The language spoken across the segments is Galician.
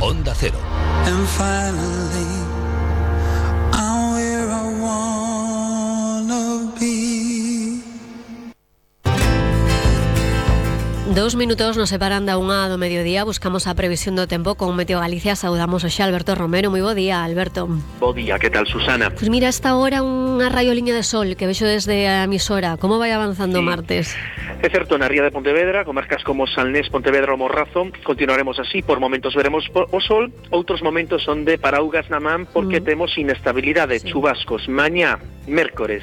Onda Cero. And finally, I'm where I wanna be. 2 minutos nos separan da 1 do mediodía. Buscamos a previsión do tempo con Meteo Galicia. Saudamos hoxe a Alberto Romero. Moi bo día, Alberto. Bo día, que tal, Susana? Pois mira, esta hora unha raioliña de sol que vexo desde a emisora. Como vai avanzando o martes? É certo, na ría de Pontevedra, comarcas como Salnés, Pontevedra ou Morrazo, continuaremos así. Por momentos veremos o sol, outros momentos son de paraugas na man porque temos inestabilidade, chubascos. Mañá, mércores,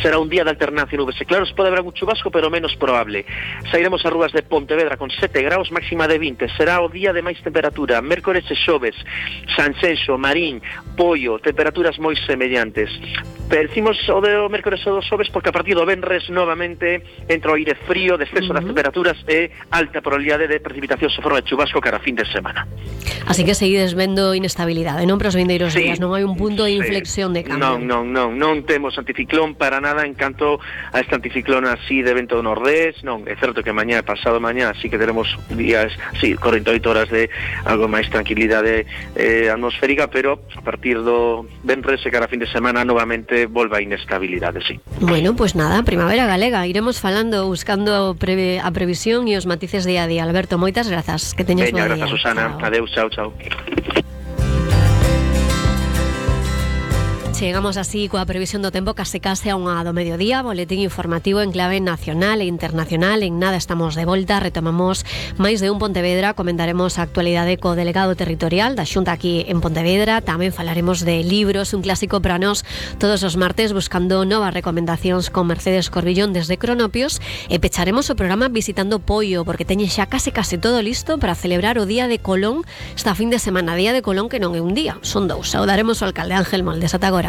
será un día de alternancia nubes e claros, pode haber algún chubasco, pero menos probable. Sairemos ás rúas de Pontevedra con 7 graus, máxima de 20. Será o día de máis temperatura. Mércores e xoves, Sanxenxo, Marín, Poio, temperaturas moi semellantes. Decimos o de mércores e o dos xoves porque a partir do venres novamente entra o aire frío, descenso das temperaturas e alta probabilidade de precipitacións en forma de chubasco cara a fin de semana. Así que seguides vendo inestabilidade, non para os vindeiros días, non hai un punto de inflexión de cambio. Non temos anticiclón para nada en canto a este anticiclón así de vento do nordés. Non, é certo que mañá, pasado mañá, sí que teremos días, sí, 48 horas de algo máis tranquilidade atmosférica, pero a partir do venres e cara a fin de semana novamente volve a inestabilidade, sí. Bueno, pues nada, primavera galega. Iremos falando, buscando a previsión e os matices día a día. Alberto, moitas grazas. Que teñas bo día. Veña, grazas, Susana. Adeus, chao. Chegamos así coa previsión do tempo case a 1 do mediodía. Boletín informativo en clave nacional e internacional. En nada estamos de volta. Retomamos máis de un Pontevedra. Comentaremos a actualidade co delegado territorial da Xunta aquí en Pontevedra. Tamén falaremos de libros, un clásico para nós todos os martes, buscando novas recomendacións con Mercedes Corbillón desde Cronopios. E pecharemos o programa visitando Poio, porque teñe xa case todo listo para celebrar o Día de Colón esta fin de semana. Día de Colón que non é un día, son 2. Saudaremos ao alcalde Ángel Moldes. Ata agora.